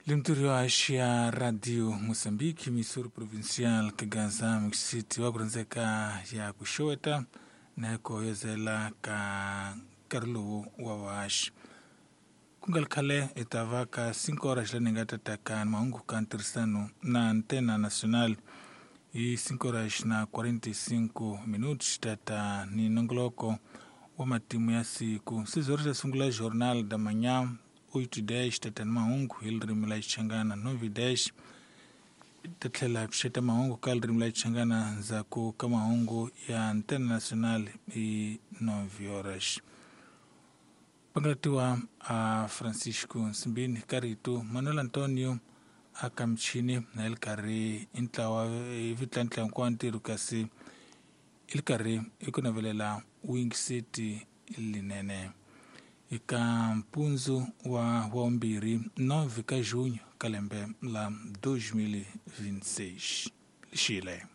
Limturi wa ya Radio Mozambique, Missouri Provincial, Kagaza City wa kurhandzeka ya ku xeweta na ku hoyozela ka nkarhi lowu wa vaxi. Ku nga ri khale hi ta va ka 5 horas la ni nga ta taka mahungu ka ntirhisano na Antena Nacional hi 5 horas na 45 minutos tata ni nongoloko wa matimu ya siku. 6 horas ta sungula Jornal da Manhã, 8:10 tata ni mahungu hi ririmi la Xichangana, 9:10 ta tlhela hi pfuxeta mahungu ka ririmi la Xichangana ndzhaku ka mahungu ya Antena Nacional hi 9 horas. Pangalatiwa a Francisco Nsimbini ka rito Manuel Antonio a ka michini na yi ri karhi i ntlawa i vitla hinkwawo ntirho kasi i ri karhi i ku navelela wuyingiseti linene eka mpundzu wa wavumbirhi 9 ka junho ka lembe la 2026 lexile.